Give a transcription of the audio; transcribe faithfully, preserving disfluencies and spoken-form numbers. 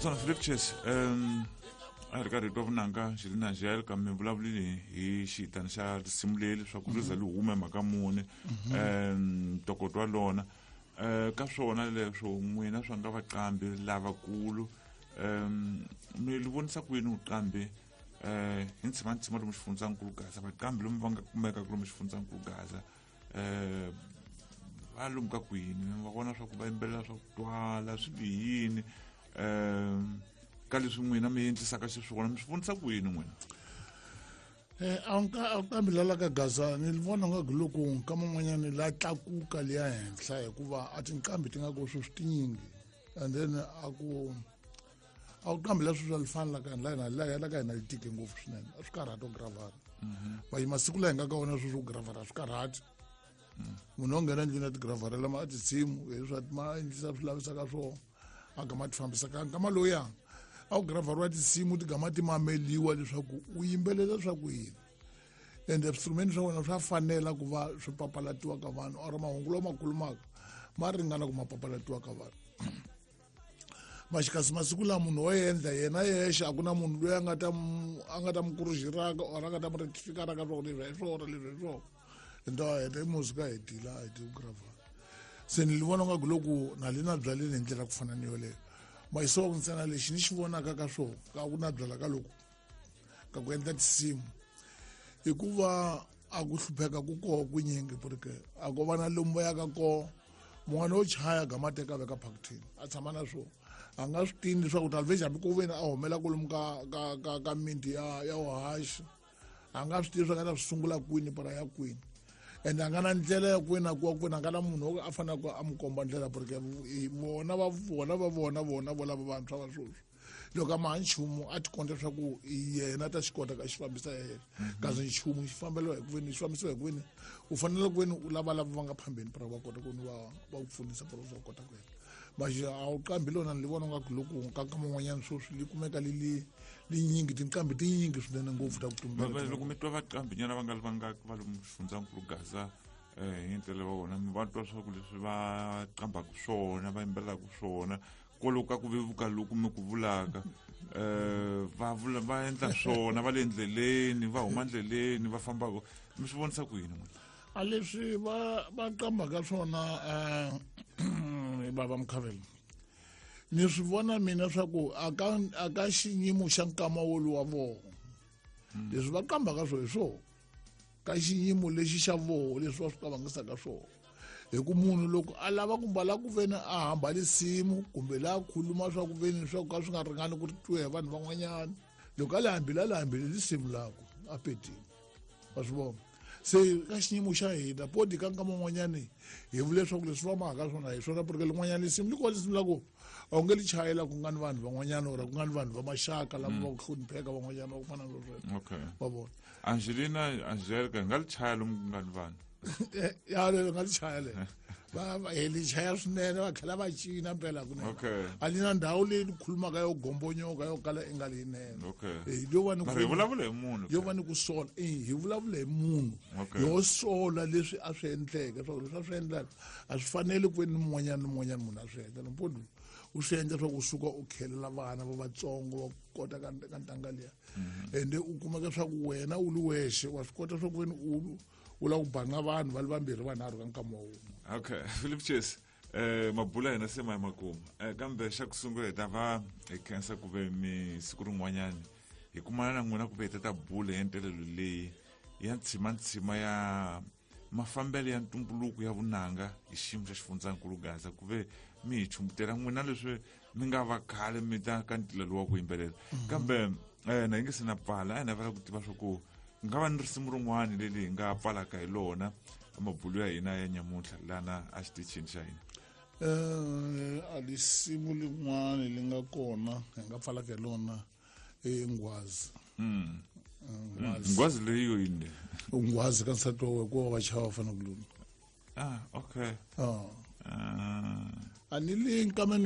Tsona Philip Chase, um a hi ri karhi hi twa vunanga Angelina Angelica, mi vulavulile hi xitani xa risimu leri leswaku ri za li hume mhaka muni, um ntokoto wa lona um ka swona leswo n'wina swa nga vaqambi lavakulu, um mi li vonisa ku yini vuqambi um hi ntshima lomu xifundzankulu Gaza, vaqambi lomu va nga kumekaka lomu xifundzankulu Gaza, um va lomu ka kwini va vona swa ku va yimbelela swa ku twala swi bihini um ka leswi n'wina mi endlisaka xiswona, mi swi vonisa ku yini n'wina? Eh a nga a kambi la ka Gaza ni vona nga ku loko ka man'wanyana la tlakuka liya henhla, hikuva a tinqambi ti nga ko sweswi tinyingi, and then a ku a ku qambi la sweswi a li fani la ka la hina la la ka hina li tike ngopfu swinene, a swi karhati ku gravara va masiku la hi nga ka wona sweswi ku gravara a swi karhati. Munhu wo nghena ndlwini a ti gravarela ma a tinsimu leswi ma endlisa swi lavisaka swona, a gama ti fambisaka nkama lowuya a ku gravariwa tinsimu ti gama ti mameliwa leswaku u yimbelela swa ku yini, ende swiinstrumenti swa wena swa fanela ku va swi papalatiwa ka vanhu or mahungu lawa ma khulumaka ma ringana ku ma papalatiwa ka vanhu. Maxikasi masiku lawa munhu wo endla yena yexe, a ku na munhu loyi a nga ta a nga ta mu kurujiraka or a nga ta mu rectificaraka swa ku leswi hi swona, leswi hi swona, ende a heta music a hetile, a hete ku gravara. Se ni vona nga ku loko na le na byaleni hi ndlela ku fana ni yoleyo mayisoku ntsena lexi ni xi vonaka ka swona ka ku na byala ka loko ka ku endla tinsimu, hikuva a ku hlupheka ku koho kunyingi porque a ko va na lomu va yaka koho. Mun'wana wo chaya gama teka veka phakithini a tshama na swona, a nga swi tivi leswaku talveji hambi ku veni a humela kwalomu ka ka ka ka miti ya ya vuhaxi, a nga swi tivi swa nga ta swi sungula kwini para ya kwini, ende a nga na ndlela ya kwini a kuwa kwini, a nga na munhu a faneleke a n'wi komba ndlela, porque vona va vona va vona vona vo lava vantshwa va sweswi loko a ma ha nchumu a ti konta leswaku yena ta xi kota ka xi fambisa yena, kasi nchumu xi fambeliwa hi ku veni xi fambisiwa hi ku veni u fanele ku veni u lava lava va nga phambeni para va kota ku ni va va ku pfunisa para va kota ku endla maxi a wu qambi lona. Ni vona nga ku loko ka ka man'wanyana sweswi li kumeka li li linyingi tinqambi tinyingi swinene ngopfu ta ku tumbela. Loko mi twa vaqambi nyana va nga va nga va lomu xifundzankulu Gaza um hi ndlela va vona mi va twa swa ku leswi va qambaka swona va yimbelelaka swona kwaloku ka ku vevuka loku mi ku vulaka um va vula va endla swona va le ndleleni va huma ndleleni va fambaka, mi swi vonisa ku yini n'wina? A leswi va va qambaka swona um bava Mkhavelo, ni swi vona mina swa ku a ka a ka xiyimo xa nkama woluwa voho leswi va qambaka swo hi swona ka xiyimo lexi xa voho leswi va swi qavangisaka swona, hi ku munhu loko a lava ku mbala ku veni a hamba risimu kumbe laha khuluma swa ku veni swa ku ka swi nga ringani ku twiwa hi vanhu van'wanyana, loko a le hambile a le hambile risimu lako a petile wa swi vona. Se ka xiyimo xa hina podi ka nkama un'wanyani hi vule leswaku leswi va mahaka swona hi swona, porque lin'wanyana risimu li kona risimu la ku a wu nge li chayela ku nga ni vanhu van'wanyana or ku nga ni vanhu va maxaka lava va ku hlonipheka van'wanyana va ku fana na sweswo. Okay. Va vona. Angelina Angelica hi nga li chaya lomu ku nga ni vanhu? Ya, lero nga li chaya lero, va va hi li chaya swinene, va tlhela va cina mpela kunene. Okay. A li na ndhawu leyi ni khulumaka yo gombonyoka yo kala i nga leyinene. Okay. Eh, yo va ni mara hi vulavula hi munhu. Yo va ni ku sola, eh hi vulavula hi munhu. Okay. Yo sola leswi a swi endleke, swa ku leswi a swi endlaka a swi fanele ku ve ni mun'wanyana ni mun'wanyana munhu a swi endla nampundzu u swi endla swa ku suka u khelela vana va vatsongo va kota ka ka ntanga liya, ende u kumeka swa ku wena u li wexe wa swi kota swa ku veni u u lava ku banga vanhu va li vambirhi vanharhu ka nkama wun'we. Okay, Philip Chase, eh mabula hina se ma ya makumu, eh kambe xa ku sungula hi ta va hi khensa ku ve mi siku rin'wanyani hi kumana na n'wina ku ve hi ta ta bula hi ntelelo leyi ya ntshima-ntshima ya mafambelo ya ntumbuluko ya vunanga hi xiyimo xa xifundzankulu Gaza, ku ve mi hi chumbutela n'wina leswi mi nga va khale mi ta ka ntila lowu wa ku yimbelela. Kambe eh na hi nge se na pfala, a hi navela ku tiva swa ku ku nga va ni risimu rin'wana leri hi nga pfalaka hi lona mabulu ya hina ya nyamuntlha lana a xitichini xa hina. Eh a lisimu lin'wana li nga kona hi nga pfalaka hi lona i nghwazi. Mm. Nghwazi. Nghwazi leyi yo yini? Nghwazi ka nsati wa wena ku va va chava va fanele ku lula. Ah, okay. Ah. Ah. A ni le nkameni.